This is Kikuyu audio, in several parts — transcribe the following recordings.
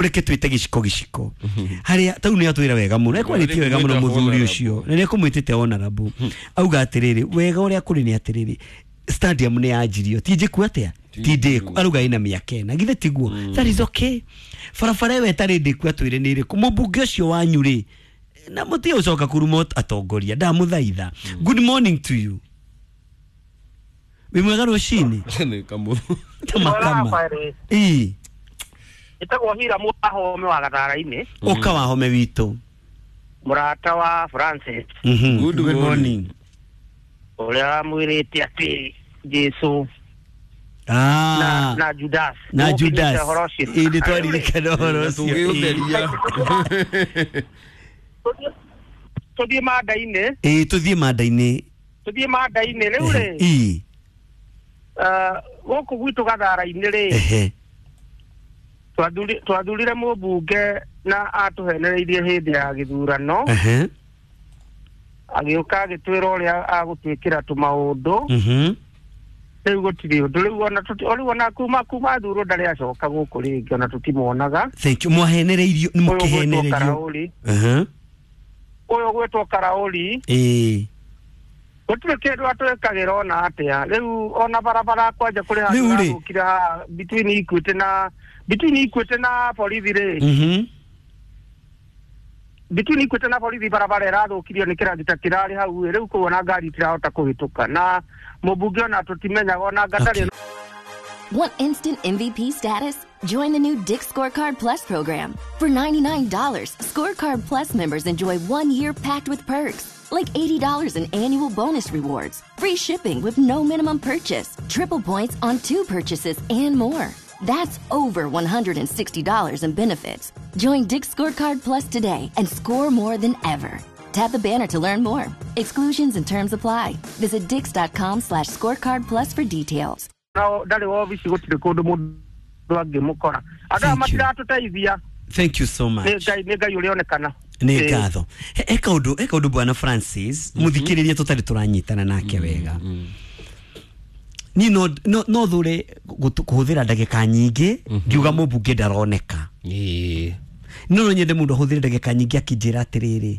Reke twite giciko giciko haria tau ni atwira wega muno ekwarĩtie wega muno muthuri ucio na nĩekũmwĩtĩte honorable auga atiriri wega ũrĩa kũrĩ nĩ atiriri stadium nĩ yanjirio ti njĩku atĩa ti ndĩku aruga ina mĩaka ĩna githĩ tiguo. That is okay. Barabara ĩyo ĩtarĩ ndĩku atwĩre nĩ ĩrĩkũ mũmbunge ũcio wanyu rĩ na mũtige gũcoka kuruma atongoria ndamũthaitha. Good morning to you. Wĩ mwega rũcinĩ. Nĩ kamũthũ. Tamakama ii Ĩtagwo Hira Mwahome wa Gathara-inĩ. Ũka wahome witũ. Mũrata wa Francis. Good morning. Ũrĩa wamwĩrĩte atĩ Jesu na Judas. Na Judas. Ĩĩ nĩ twaririkana ũhoro ũcio. Tũgĩũtheria. Tũthiĩ manda-inĩ. Ĩĩ tũthiĩ manda-inĩ. Tũthiĩ manda-inĩ rĩu rĩ. Ĩĩ. Gũkũ gwitũ Gathara-inĩ rĩ. Ehe. Twathurire mũmbunge na atũhenereirie hĩndĩ ya gĩthurano. Agĩũka agĩtwĩra ũrĩa agũtwĩkĩra tũmaũndũ. Rĩu gũtirĩ ũndũ rĩu ona rĩu ona kuma thurwo ndarĩ acoka gũkũ rĩngĩ ona tũtimuonaga. Thank you. Mwahenereirio nĩ mũkĩhenereirio. Ũyũ gwĩtwo Karaũri. Ĩĩ. Gũtirĩ kĩndũ atwĩkagĩra ona atĩa. Rĩu ona barabara kwanja kũrĩ handũ hathũkire haha between Equity na between Equity na borithi rĩ. Between Equity na borithi barabara ĩrathũkirio nĩ kĩragita kĩrarĩ hau rĩu kũu ona ngari itirahota kũhĩtũka na mũmbunge ona tũtimenyaga ona ngatarĩ. Want instant MVP status? Join the new Dick's Scorecard Plus program. For $99, Scorecard Plus members enjoy 1 year packed with perks, like $80 in annual bonus rewards, free shipping with no minimum purchase, triple points on 2 purchases, and more. That's over $160 in benefits. Join Dick's Scorecard Plus today and score more than ever. Tap the banner to learn more. Exclusions and terms apply. Visit dix.com/scorecard plus for details. Ndarĩ wobici gũtirĩ kũndũ mũndũ angĩmũkora. Andũ aya matiratũteithia. Thank you so much. Nĩ Ngai ũrĩonekana. Nĩ ngatho. He kaũndũ bwana Francis mũthikĩrĩria tũtarĩ tũranyitana nake wega. Ni no thure kũhũthĩra ndagĩka nyingĩ ngiuga mũmbunge ndaroneka. No nyende mũndũ ahũthĩre ndagĩka nyingĩ akĩnjĩra atĩrĩrĩ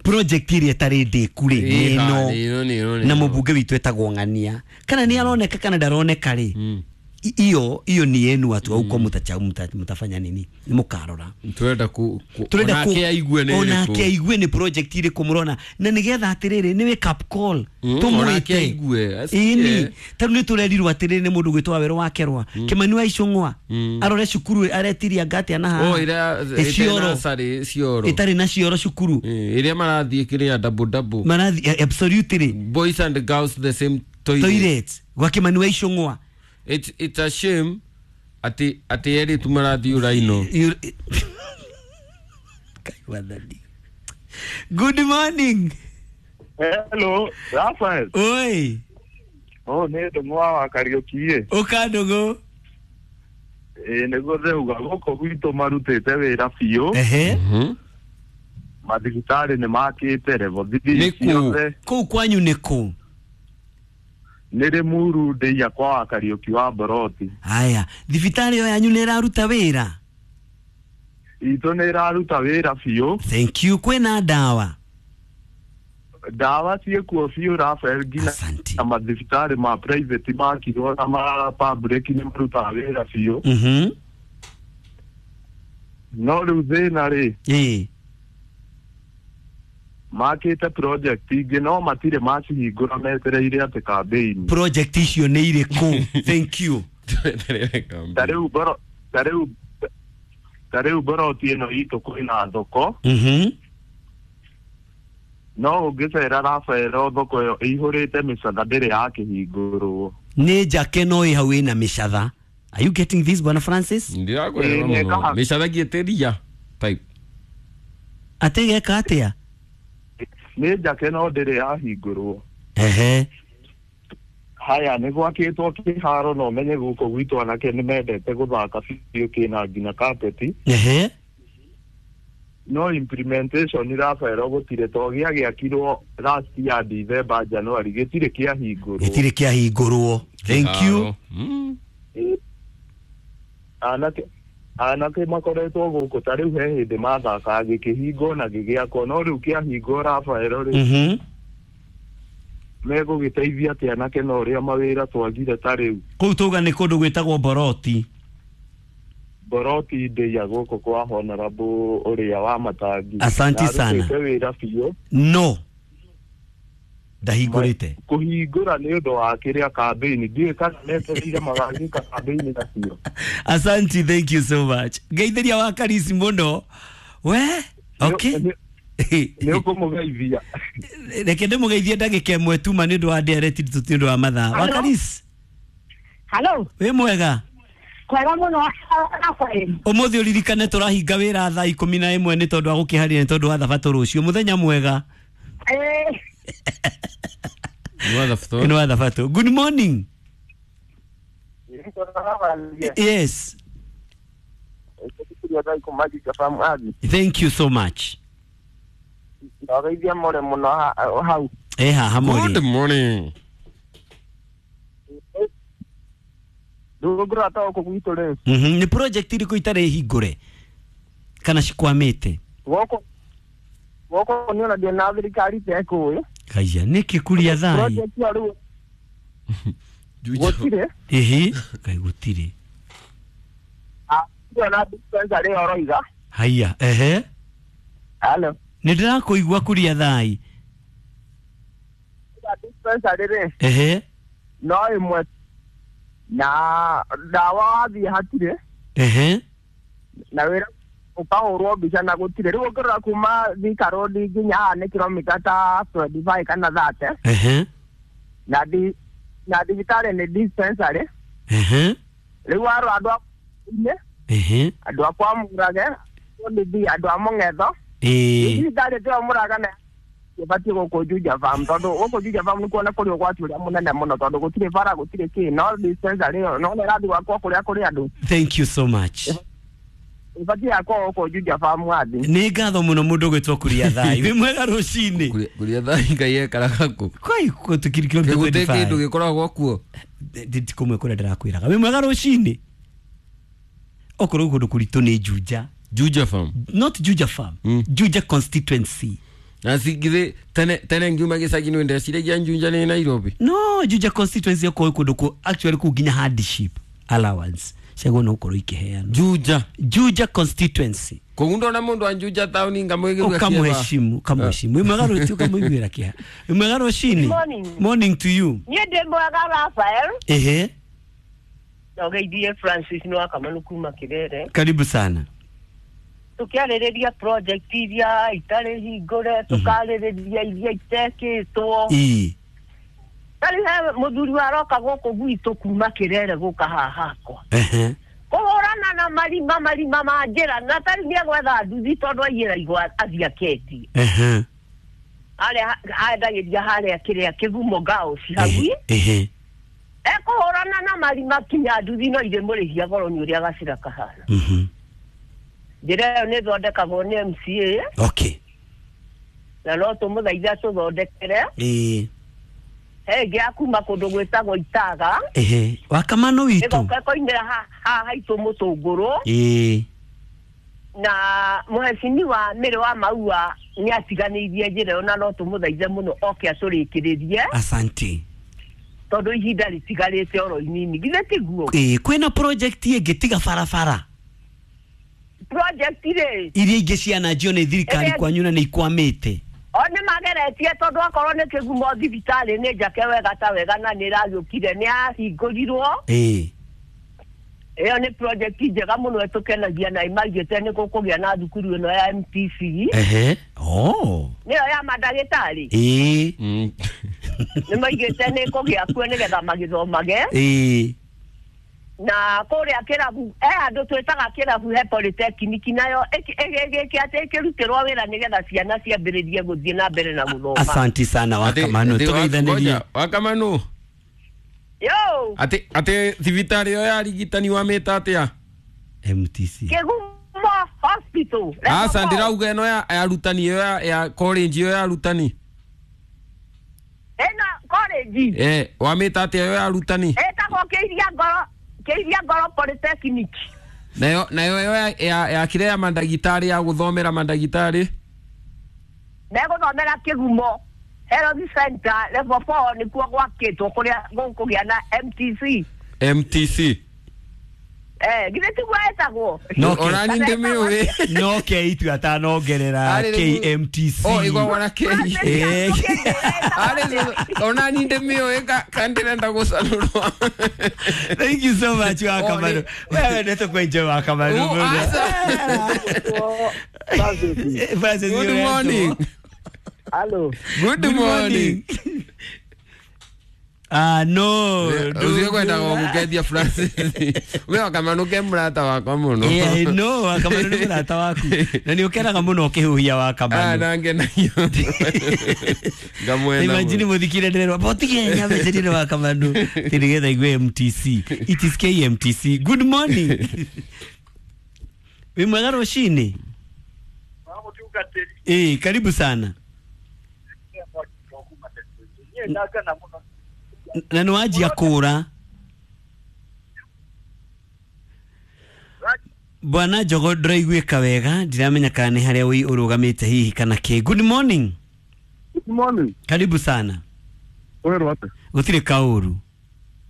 project ĩrĩa ĩtarĩ ndĩku rĩ nĩ ĩno na mũmbunge witũ etagwo Ng'ania kana nĩ aroneka kana ndaroneka rĩ iyo iyo ni yenu watu huko mtafanya nini ni mukarora turenda ku onake aigue ni onake aigue ni project iri kumurona na nigetha atiriri ni wake up call tumwite aigue ini taru ni turerirwo atiriri ni mundu gwitwa wero wakerwa Kimani wa Icung'wa arore cukuru aretiria ngati na ha o ira cioro itari na cioro cukuru iria marathie kiria double double marathi absolutely boys and girls the same toilet gwa Kimani wa Icung'wa. It's a shame ati eri tumarathi uraino. Good morning. Hello, Rafael. Oi. Oh, ne ndũng'wa wa Kariũki. Ũka ndũng'ũ. Ĩ nĩguo ndĩrauga gũkũ gwitũ marutĩte wĩra biũ. Ehe. Mathibitarĩ nĩ makĩte level three ciothe. Kũu kwanyu nĩ kũ? Nĩ Rĩmuru ndĩia kwa wa Kariũki wa Boroti. Haya, thibitarĩ ĩyo yanyu nĩ ĩraruta wĩra? Itũ nĩ ĩraruta wĩra biũ. Thank you. Kwĩna ndawa? Ndawa ciĩkuo biũ Rafael, nginya na mathibitarĩ ma private makirwo na ma public nĩ marutaga wĩra biũ. No rĩu thĩna rĩ, ĩĩ, makĩte project ingĩ no matirĩ macihingũra metereire atĩ campaign. Project icio nĩ irĩkũ? Thank you. Ta rĩu Boroti ĩno itũ kwĩna thoko. No ũngĩcera Rafael thoko ĩyo ĩihũrĩte mĩcatha ndĩrĩ yakĩhingũrwo. Nĩ njake no ĩ hau ĩna mĩcatha. Are you getting this, Bwana Francis? Ndirakwĩra mũno. Mĩcatha ngĩtĩria type. Atĩ geka atĩa? Nĩ njake no ndĩrĩ yahingũrwo. Ehe. Haya, nĩ gwakĩtwo kĩharo no menye gũkũ gwitũ anake nĩ mendete gũthaka biũ kĩna nginya kapeti. Ehe. No implementation Rafael gũtirĩ to gĩagĩakirwo last year December January gĩtirĩ kĩahingũrwo. Gĩtirĩ kĩahingũrwo. Thank you. Anake makoretwo gũkũ ta rĩu he hĩndĩ mathakaga gĩkĩhingwo na gĩgĩakwo no rĩu kĩahingwo Rafael rĩ megũgĩteithia atĩ anake na ũrĩa mawĩra twagire ta rĩu kũu tauga nĩ kũndũ gwĩtagwo Boroti. Boroti ndĩia gũkũ kwa Honorable ũrĩa wa Matangi. Asanti sana. Arutĩte wĩra biũ. No ndahingũrĩte kũhingũra nĩ ũndũ wa kĩrĩa campaign ndiũĩ kana metereire magagĩka campaign nacio. Asanti, thank you so much. Ngeithĩria wa Karisi mũno we. Okay, nĩ ũkũmũgeithia. Reke ndĩmũgeithie ndagĩka ĩmwe tuma nĩ ũndũ wa ndereti tũti ũndũ wa mathaa. Wa Karisi. Hello. Wĩ mwega? Kwega mũno Rafael. Ũmũthĩ ũririkane tũrahinga wĩra thaa 11 nĩ tondũ wa gũkĩharĩria nĩ tondũ wa thabatũ rũciũ. Mũthenya mwega. Nĩ wa thabatũ. Good morning. Yes. Thank you so much. Good morning. Nĩ project irĩkũ itarĩ hingũre kana cikwamĩte? Gũkũ nĩ ona ndĩ na thirikari tekũĩ. Kaiya nĩkĩ kuria thai? Project ya rĩu gũtirĩ. Ĩhĩ, kai gũtirĩ. Na dispensary ĩyo ũroiga. Haiya, ehe. Hello. Nĩ ndĩrakũigua kuria thai. Dispensary rĩ. Ehe. No ĩmwe na ndawa wathiĩ hatirĩ. Ehe. Na wĩra ũkahũrwo mbica na gũtirĩ. Rĩu ũngĩrora kuma Thika Road nginya haha nĩ kilomita ta 25 kana 30. Ehe. Na thibitarĩ nĩ dispensary. Ehe. Rĩu warora andũ a inĩ. Ehe. Andũ a kwa Mũrage, andũ a Mũng'etho. Thibitarĩ tĩyo Mũraga na ĩbatiĩ gũkũ Juja Farm tondũ gũkũ Juja Farm nĩkuona kũrĩ ũgwati ũrĩa mũnene mũno tondũ gũtirĩ bara gũtirĩ kĩ no dispensary ĩyo no nĩ ĩrathiĩ gwakwo kũrĩa kũrĩ andũ. Thank you so much. Ibatiĩ yakwo gũkũ Juja Farm wathi. Nĩ ngatho mũno mũndũ ũgwĩtwo Kuria Thai. Wĩ mwega rũcinĩ. Kuria Thai Ngai ekaraga kũ? Kwai gũtikiri kilomita 25. Gũtirĩ kĩndũ gĩkoragwo kuo. Ndikumwe kũrĩa ndĩrakwĩraga. Wĩ mwega rũcinĩ. Okorwo kũndũ kũritũ nĩ Juja. Juja Farm. Not Juja Farm. Juja constituency. Na sigithe tene ngiuma gĩcagi nĩ ndeciragia Juja nĩ Nairobi. No, Juja constituency okorwo kũndũ kũ actually kũu nginya hardship allowance ciagwo no ũkorwo ikĩheanwo. Juja. Juja constituency. Koguo ndona mũndũ wa Juja town ngamwĩgĩrwo ũkamũheshimu, ũkamũheshimu. Wĩ mwega rũciũ ũkamũiguĩra kĩeha. Wĩ mwega rũcinĩ. Morning. Morning to you. Niĩ ndĩ mwega Rafael. Ehe. Na ũgeithie Francis nĩ wakamanu kuma Kĩrere. Karibu sana. Tũkĩarĩrĩria project iria itarĩ hingũre, tũkarĩrĩria iria itekĩtwo. Ĩĩ. Tarĩu he mũthuri waroka gũkũ gwitũ kuma Kĩrere gũka haha hakwa. Ehe. Kũhũrana na marima ma njĩra na tarĩu nĩegwetha nduthi tondũ aiyĩra igwa athiĩ aketie. Ehe. Harĩa endagĩria harĩa kĩrĩa Kĩgumo Girls hau. Ehe. Ekũhũrana na marima kinya nduthi no irĩmũrĩhia goro nĩ ũrĩa gacĩra kahana. Njĩra ĩyo nĩ ĩthondekagwo nĩ MCA. Okay. Na no tũmũthaithe tũthondekere. Ĩĩ. He ĩngĩ ya kuma kũndũ gwĩtagwo Itaga. Ehe. Wakamano witũ. Ĩgoka ĩkoimĩra haha haitũ Mũtũngũrũ. Ĩĩ. Na mũhecini wa Mĩrĩ wa Maua nĩ atiganĩirie njĩra ĩyo na no tũmũthaithe mũno oke atũrĩkĩrĩrie. Asante. Tondũ ihinda rĩtigarĩte oro inini. Githĩ tiguo? Ĩĩ, kwĩna project ĩngĩ tiga barabara. Project rĩ iria ingĩ ciananjio nĩ thirikari kwanyu na nĩ ikwamĩte. O nĩ mageretie tondũ akorwo nĩ Kĩgumo thibitarĩ nĩ njake wega ta wega na nĩ ĩragĩũkire nĩ yahingũrirwo. Ĩĩ. Ĩyo nĩ project njega mũno ĩtũkenagia na ĩmaigĩte nĩ gũkũgĩa na thukuru ĩno ya MTC. Ehe. Oh. Nĩyo ya mandagĩtarĩ. Ĩĩ. Nĩ maigĩte nĩ kũgĩa kuo nĩgetha magĩthomage. Ĩĩ. Na kũrĩa kĩrabu handũ twĩtaga kĩrabu he polytechnic nayo ĩgĩke atĩ ĩkĩrutĩrwo wĩra nĩgetha ciana ciambĩrĩrie gũthiĩ na mbere na gũthoma. Asante sana Wakamanu, tũgeithanĩrie. Wakamanu. Yo. Atĩ thibitarĩ ĩyo ya arigitani wamĩta atĩa? MTC. Kĩgumo Hospital. Aca ndĩrauga ĩno ya arutani ĩyo ya college ĩyo ya arutani. Ĩno college. Wamĩta atĩa ĩyo ya arutani? Ĩtagwo Kĩiria Ngoro. Kĩiria Ngoro Polytechnic. Nayo ya kire ya mandagitari ya guthomera mandagitari meguthomera Kigumo Health Center level 4 nikuo gwakitwo kuria gukugia na MTC. Githe tiguo etagwo ona ni ndimiuĩ no K itu atanongerera KMTC. Oh igwa na K ari ona ni ndimiuĩ kandirenda gucanurwo. Thank you so much Wakamaru. Wewe ndeto kwenje Wakamaru. Good morning. Hello. Good morning. Ah no. Ucio kwenda gũkethia Francis. We Wakamanu ke mũrata wakwa mũno. Yeah, no, Wakamanu nĩ mũrata waku. Na nĩ ũkenaga mũno ũkĩhuhia Wakamanu. Ah, na ngenagio. Ngamwenda. Imagine mũthikire ndĩrerwo, "Botige nyambe Wakamanu." Ti nĩgetha igue MTC. It is KMTC. Good morning. Wĩ mwega rũcinĩ? Karibu sana. Na nĩ wanjia kũra. Bwana Njogo ndĩraiguĩka wega, ndiramenya kana nĩ harĩa wĩ ũrũgamĩte hihi kana kĩ. Good morning. Good morning. Karibu sana. Wero ate. Gũtirĩ kaũru.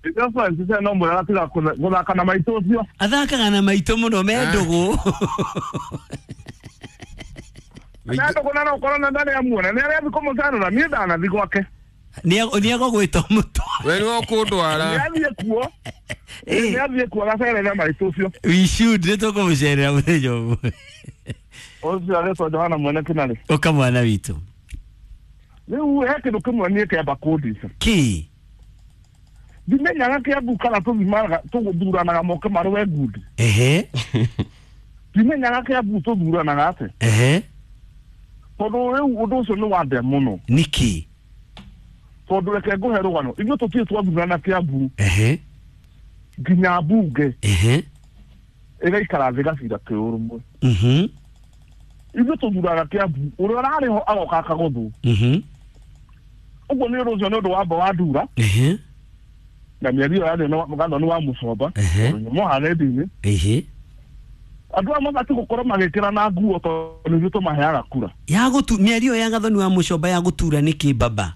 Ĩyo Francis no mwega tiga gũthaka na maitũ ũcio. Athakaga na maitũ mũno me ndũgũ. Na ndũgũ na no korwo na ndarĩ amuona. Nĩ arĩa thikũ mũcanũra niĩ ndanathi gwake. Nĩ egũgwĩta mũtwe. We nĩwe ũkũndwara. Nĩ kuo. Nĩ athiĩ kuo agacerera maitũ ũcio. We should nĩ tũkũmũcerera mũthenya ũmwe. Ũcio aretwo Johana mwene Kĩnarĩ. Ũka mwana witũ. Rĩu he kĩndũ kĩmwe niĩ kĩamba kũndica. Kĩ? Ndimenyaga Kĩambu kana tũthimaga tũthuranaga moke marũe ngundi. Ehe. Ndimenyaga Kĩambu tũthuranaga atĩa. Ehe. Tondũ rĩu ũndũ ũcio nĩ wandĩa mũno. Nĩkĩ? Tondũ reke ngũhe rũgano ithuĩ tũtirĩ twathurana Kĩambu. Ehe. Nginya mbunge. Ehe. Ĩgaikara thĩ gacira kĩũrũmwe. Mhm. Ithuĩ tũthuraga Kĩambu ũrĩa ũrarĩ ho agoka akagũthwo. Mhm. Ũguo nĩ ũndũ ũcio nĩ ũndũ wamba wa ndura. Ehe. Na mĩario yarĩ na Gathoni wa Mũcomba. Ehe. Mũharendi-inĩ. Ehe. Andũ aya mabatiĩ gũkorwo magĩkĩra na nguo tondũ nĩithuĩ tũmaheaga kura. Ya gũtu mĩario ya Gathoni wa Mũcomba ya gũtura nĩkĩ baba?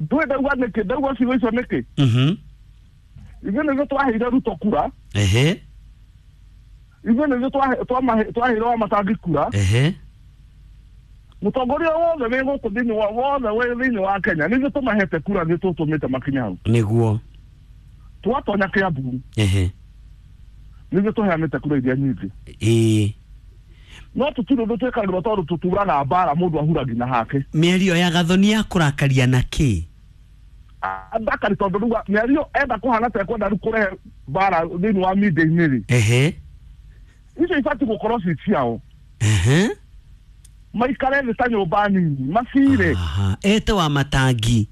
Ndũĩ ndauga nĩkĩ, ndauga ciugo icio nĩkĩ? Mhm. Ithuĩ nĩithuĩ twaheire Ruto kura. Ehe. Ithuĩ nĩithuĩ twaheire Wamatangi kura. Ehe. Mũtongoria wothe wĩ gũkũ thĩinĩ wa wothe wĩ thĩinĩ wa Kenya nĩithuĩ tũmahete kura nĩ tũtũmĩte makinye hau. Nĩguo. Twatonya Kĩambu. Ehe. Nĩithuĩ tũheanĩte kura iria nyingĩ. Ĩĩ. No tũtirĩ ũndũ twĩkagĩrwo tondũ tũturaga mbara mũndũ ahuragia na hake. Mĩario ya Gathoni ya kũrakaria na kĩ? Ndakari tondũ rĩu mĩario enda kũhana ta ekwenda rĩu kũrehe mbara thĩinĩ wa media-inĩ rĩ. Ehe. Icio ibatiĩ gũkorwo ci ciao. Ehe. Maikare thĩ ta nyũmba nini macire. Aha. Ete wa matangi.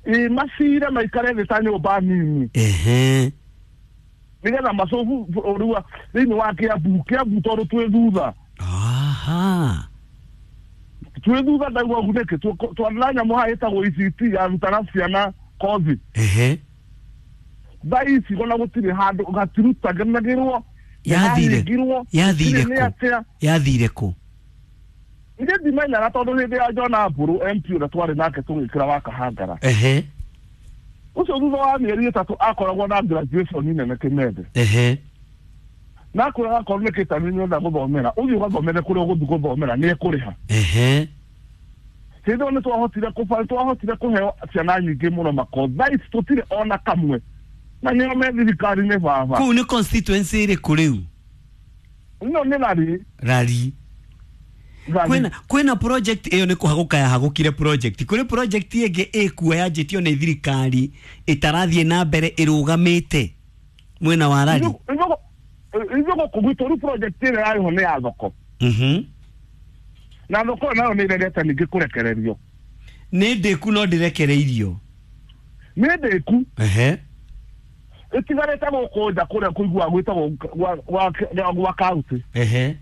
Ĩ macire maikare thĩ ta nyũmba nini. Ehe. Nĩgetha macobu rĩu thĩinĩ wa Kĩambu Kĩambu tondũ twĩ thutha. Aha. Twĩ thutha ndauga ũguo nĩkĩ twarĩ nyamũ haha ĩtagwo ECT yarutaga ciana kothi. Ehe. Thaa ici ona gũtirĩ handũ gatirutanagĩrwo. Yathire. Yathire kũ? Yathire kũ? Niĩ ndimenyaga tondũ hĩndĩ ya John Mburu MP ũrĩa twarĩ nake tũgĩkĩra wa Kahangara. Ehe. Ũcio thutha wa mĩeri 3 akoragwo na graduation nene Kĩmende. Ehe. Na akwĩraga akorwo nĩ kĩtani nĩ ũrenda gũthomera ũthiĩ ũgathomere kũrĩa ũgũthiĩ gũthomera nĩ ekũrĩha. Ehe. Hĩndĩ ĩyo nĩ twahotire kũheo ciana nyingĩ mũno makothi. Thaa ici tũtirĩ ona kamwe. Na nĩo me thirikari-inĩ baba. Kũu nĩ constituency ĩrĩkũ rĩu? Ĩno nĩ Rari. Rari. Kwĩna project ĩyo nĩ kũhagũka yahagũkire project. Kũrĩ project ĩngĩ ĩkuo yanjĩtio nĩ thirikari ĩtarathiĩ na mbere ĩrũgamĩte mwena wa Rari. Ithuĩ gũkũ gwitũ rĩu project ĩrĩa yarĩ ho nĩ ya thoko. Mhm. Na thoko nayo nĩ ĩregete ningĩ kũrekererio. Nĩ ndĩku no ndĩrekereirio. Nĩ ndĩku. Ehe. Ĩtigarĩte gũkũ nja kũrĩa kũiguaga gwĩtagwo gwa kaunti. Ehe.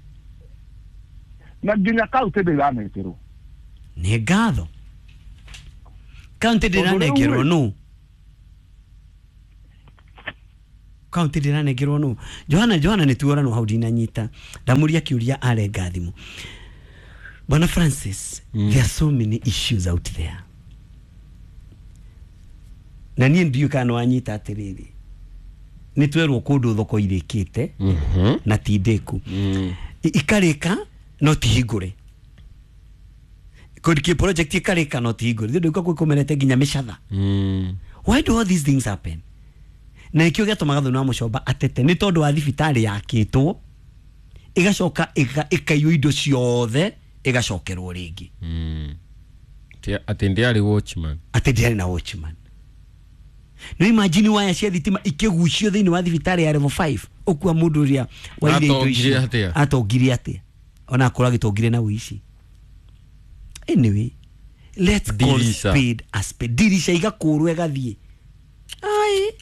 Na nginya kaunti ndĩranengerwo. Nĩ ngatho. Kaunti ndĩranengerwo nũ? Kaunti ndĩranengerwo nũ? Johana Johana nĩ tuoranwo hau ndinanyita ndamũria kĩũria arenga thimũ. Bwana Francis, there are so many issues out there na niĩ ndiũĩ kana nĩwanyita atĩrĩrĩ nĩ twerwo kũndũ thoko irĩkĩte na ti ndĩku ikarĩka no ti hingũre kũndũ kĩ project ikarĩka no ti hingũre thĩ ndũka kwĩkũmerete nginya mĩcatha. Why do all these things happen? Na nĩkĩo gĩatũmaga Gathoni wa Mũchomba atete nĩ tondũ wa thibitarĩ yakĩtwo ĩgacoka ĩkaiywo indo ciothe ĩgacokerwo rĩngĩ. Atĩ ndĩarĩ watchman. Atĩ ndĩarĩ na watchman. No imagine waya cia thitima ikĩgucio thĩinĩ wa thibitarĩ ya level 5 ũkua mũndũ ũrĩa waire indo icio atongire atĩa ona akorwo agĩtongire na ũici. Anyway, let's call spade a spade. Dirisha igakũrwo ĩgathiĩ. Ai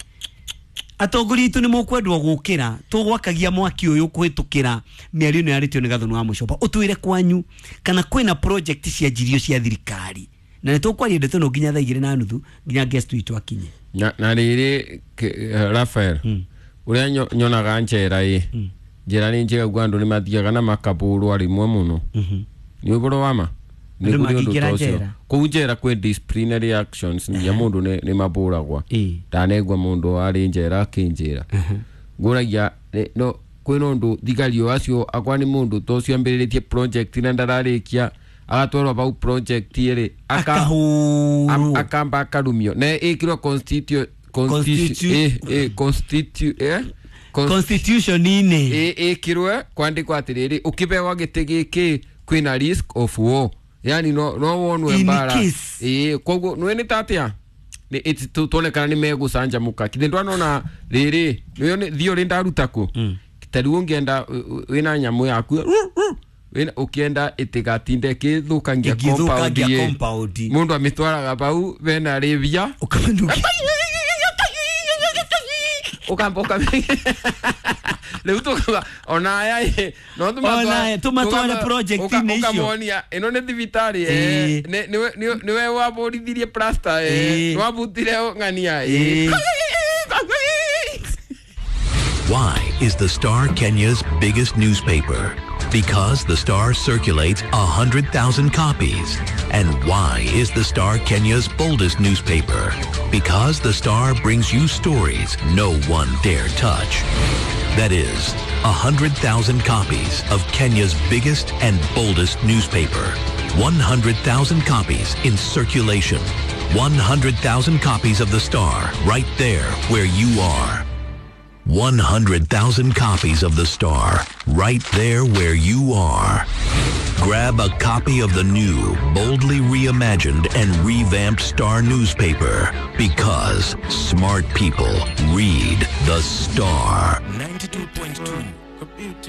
atongoria itũ nĩ mũkwendwo gũkĩra tũgwakagia mwaki ũyũ kũhĩtũkĩra mĩario ĩno yarĩtio nĩ Gathoni wa Mũchomba ũtwĩre kwanyu kana kwĩna project cianjirio cia thirikari na nĩ tũkwaria ndeto ĩno nginya thaa 2:30 nginya guest witũ akinye. Na rĩrĩ Raphael, ũrĩa nyonaga njera ĩ njera nĩ njega guo andũ nĩ mathiaga na makabũrwo rĩmwe mũno. Nĩ ũhoro wa ma nĩ kũrĩ ũndũ ta ũcio kũu njera kwĩ disciplinary actions nginya mũndũ nĩ mabũragwa. Ndanegua mũndũ arĩ njera akĩnjĩra ngũragia no kwĩna ũndũ thigari o acio akwa nĩ mũndũ ta ũcio ambĩrĩrĩtie project na ndararĩkia agatwarwo bau project ĩrĩ akamba akarumio na ĩkĩrwo constitution-inĩ ĩkĩrwe kwandĩkwo atĩrĩrĩ ũkĩbewa gĩtĩ gĩkĩ kwĩna risk of war, yani no wonwe mbara koguo nĩ nĩ tatia tuonekana nĩ megũcanjamũka kithĩ ndwanona rĩrĩ nĩyo theory ndaruta kũ ta rĩu ũngĩenda wĩna nyamũ yaku ũkĩenda ĩtigatinde ĩkĩthũkangia compound mũndũ amĩtwaraga bau bena rĩbia ũkamba rĩu tũkauga ona aya no tũmatware project-inĩ icio ũkamonia ĩno nĩ thibitarĩ nĩwe wabũrithirie plaster nĩwabutire ng'ania. Why is the Star Kenya's biggest newspaper? Because the Star circulates 100,000 copies. And why is the Star Kenya's boldest newspaper? Because the Star brings you stories no one dare touch. That is, 100,000 copies of Kenya's biggest and boldest newspaper. 100,000 copies in circulation. 100,000 copies of the Star right there where you are. 100,000 copies of the Star, right there where you are. Grab a copy of the new, boldly reimagined and revamped Star newspaper, because smart people read the Star. 92.2, a beautiful